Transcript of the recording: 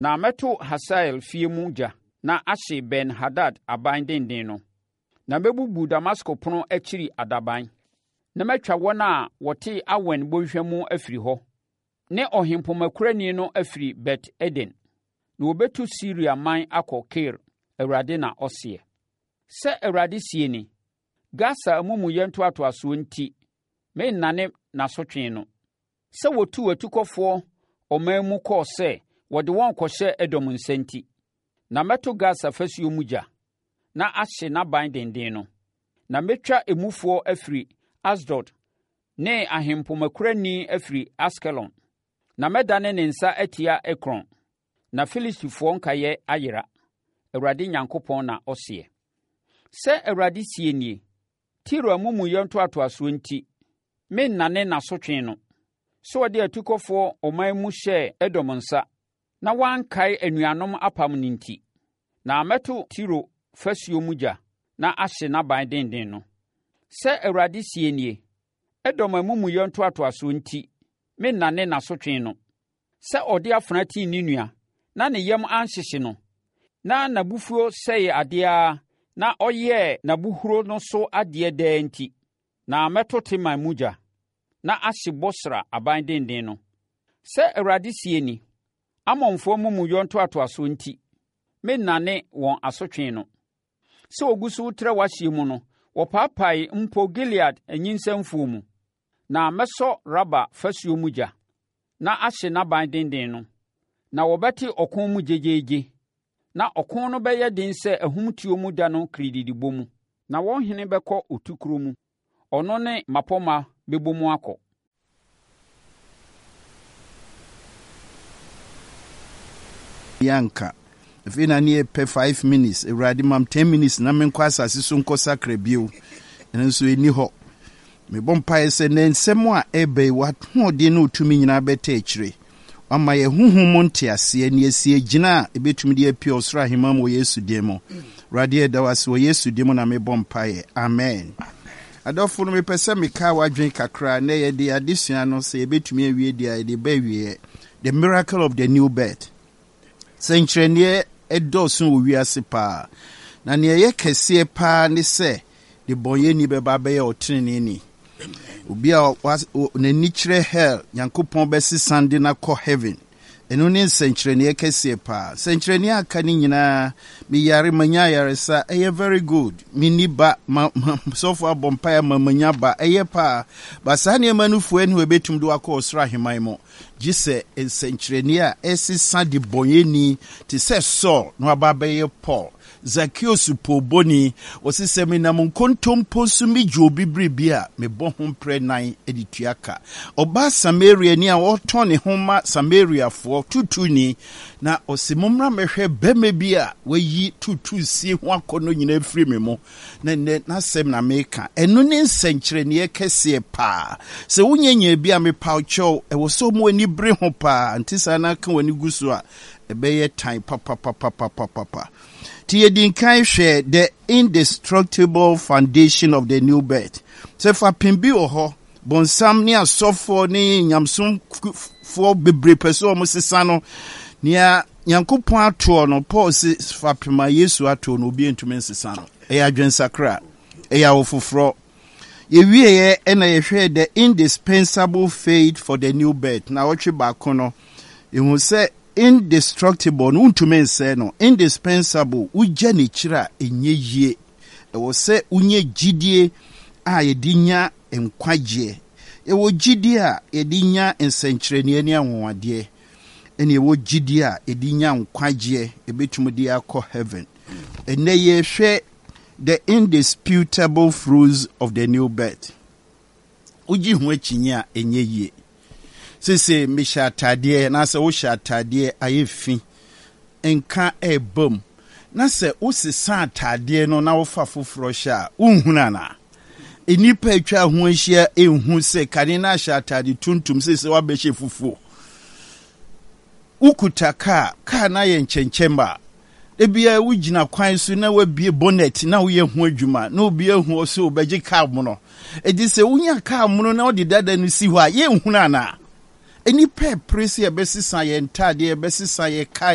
Na mɛto Hasael fie mu gya na ahye Ben-Hadad aban denden no. Na mɛbubu Damasko pono akyiri adaban, na matwa wɔn a wɔte Awen bɔnhwa mu afiri hɔ, ne ɔhempomakurani no afiri Bet Eden. Na wɔbɛtu Siria man akɔ Kir, Awurade na ɔseɛ. Sɛ Awurade seɛ ni, Gasa amumuyɛ ntoatoasoɔ nti, merennane n'asotwe no. Sɛ wɔtuu atukɔfoɔ ɔman mu kɔɔ sɛ wɔde wɔn rekɔhyɛ Edom nsa nti. Na mɛto Gasa fasuo mu gya, na ahye n'aban denden no. Na mɛtwa emufoɔ afiri Asdod ne ahempomakurani afiri Askelon. Na mɛdane ne nsa atia Ekron, na Filistifoɔ nkaeɛ ayera, Awurade Nyankopɔn na ɔseɛ. Sɛ Awurade seɛ nie, Tiro amumuyɛ ntoatoasoɔ nti, merennane n'asotwe no, sɛ ɔde atukɔfoɔ ɔman mu hyɛɛ Edom nsa, na wankae anuanom apam no nti. Na mɛto Tiro fasuo mu gya na ahye n'aban denden no. Sɛ Awurade seɛ nie, Edom amumuyɛ ntoatoasoɔ nti, merennane n'asotwe no, sɛ ɔde afena tii ne nua, na ne yam anhyehye no, na n'abufuo sɛee adeɛ ara na ɔyɛɛ n'abohuro no so adeɛ daa nti. Na mɛto Teman mu gya, na ahye Bosra aban denden no. Sɛ Awurade seɛ ni, Amonfoɔ amumuyɔ ntoatoasoɔ nti, merennane wɔn asotwe no. Sɛ wɔgu so retrɛ w'ahyeɛ mu no, wɔpaapaee mpo Gilead anyinsɛnfoɔ mu. Na mɛsɔ Raba fasuo mu gya, na ahye n'aban denden no. Na wɔbɛte ɔko mu gyegyeegye, na ɔko no bɛyɛ den sɛ ahumtuo mu da no kirididibɔ mu. Na wɔn hene bɛkɔ otukorɔ mu, ɔno ne mmapɔmma bɛbɔ mu akɔ. Yɛanka. Afei na ne yɛpɛ 5 minutes. Awurade, mam 10 minutes na menkɔ asase so nkɔ sakra bio. Ɛno nso ɛni hɔ. Mebɔ mpaeɛ sɛ ne nsɛm a ɛbɛ yi, w'ahoɔden ne otumi nyinaa bɛtɛ akyire. Wama yɛ honhom mu nteaseɛ ne yɛsi agyina a ɛbɛtumi de apue ɔsoro ahemman mu wɔ Yesu din mu. Awurade, yɛda wo ase wɔ Yesu din mu na mebɔ mpaeɛ. Amen. Adɔfo no, mepɛ sɛ meka w'adwene kakra na yɛde adesua no, sɛ yɛbɛtumi awie deɛ a, yɛde ba awieɛ. The miracle of the new birth. Sɛnkyerɛnneɛ ɛdɔɔso wɔ wiase paa, na nea ɛyɛ kɛseɛ paa ne sɛ de bɔnyɛni bɛba abɛyɛ ɔteneneeni. Obi a n'ani kyerɛ hell, Nyankopɔn bɛsesan de no akɔ heaven. Ɛno ne nsɛnkyerɛnneɛ kɛseɛ paa. Nsɛnkyerɛnneɛ a aka no nyinaa, meyare manya ayaresa, ɛyɛ very good. Menni ba, ma, ma sɔfo abɔ mpaeɛ ama manya ba, ɛyɛ paa. Ba saa nneɛma no fua ni hɔ ɛbɛtumi de wakɔ ɔsoro ahemman mu, gye sɛ nsɛnkyerɛnneɛ a ɛsesa de bɔnyɛni te sɛ Saul na waba abɛyɛ Paul. Zacchaeus poobɔni, wɔse sɛ menam nkontompo so megye obi biribi a, mebɔ ho mprɛ nan de tua ka. Ɔbaa Samariani a ɔretɔn ne ho ma Samariafoɔ, tuutuuni, na ɔse mommra mmɛhwɛ bɛrima bi a wayi tuutuusie ho akɔnnɔ nyinaa afiri me mu, na nnɛ n'asɛm na meka. Ɛno ne nsɛnkyerɛnneɛ kɛseɛ paa. Sɛ wonya nyaa bi a, mepaw kyɛw, ɛwɔ sɛ ɔmo ani bere ho paa, nte saa na aka w'ani gu so a, ɛbɛyɛ tan papapapapapapa. Nti yɛdi nkan hwɛ the indestructible foundation of the new birth. Sɛ fapem bi wɔ hɔ, bɔnsam ne asɔfoɔ ne nyamesomfoɔ bebree pɛ sɛ wɔn sesa no, nea Nyankopɔn atoɔ no, Paul se fapem a Yesu atoɔ no, obi ntumi nsesa no. Ɛyɛ adwensakra, ɛyɛ awofoforɔ. Yɛwieɛ ɛna yɛhwɛɛ the indispensable faith for the new birth. Na ɔtwe baako no, yɛhu sɛ indestructible no, wontumi nsɛe no. Indispensable, wogya n'akyiri a ɛnyɛ yie. Ɛwɔ sɛ wonya gyidie a yɛde nya nkwagyeɛ. Yɛwɔ gyidie a yɛde nya nsɛnkyerɛnneɛ ne anwanwadeɛ, ɛne ɛwɔ gyidie a yɛde nya nkwagyeɛ, yɛbɛtumi de akɔ heaven. Ɛnnɛ yɛhwɛ the indisputable fruits of the new birth. Wogye ho akyinnye a ɛnyɛ yie. Sese mehyɛ ataadeɛ anaasɛ wohyɛ ataadeɛ ayɛ fi, nka ɛreba mu, na sɛ wosesa ataadeɛ no na wofa foforɔ hyɛ a, wonhunu anaa? Nnipa atwa ho ahyia nhu sɛ kane no ahyɛ ataade tuntum, sese woabɛhyɛ fufuo. Wokuta kaa, kaa no ayɛ nkyɛnkyɛm a, ebia wogyina kwan so na woabie bonnet na woyɛ ho adwuma na obi ahu ɔ sɛ wobɛgye kaa mono. Enti sɛ wonya kaa mono na wode dada no si hɔ a, yɛnhunu anaa? Nnipa ɛpere sɛ yɛbɛsesa yɛn ntaadeɛ, yɛbɛsesa yɛn kaa.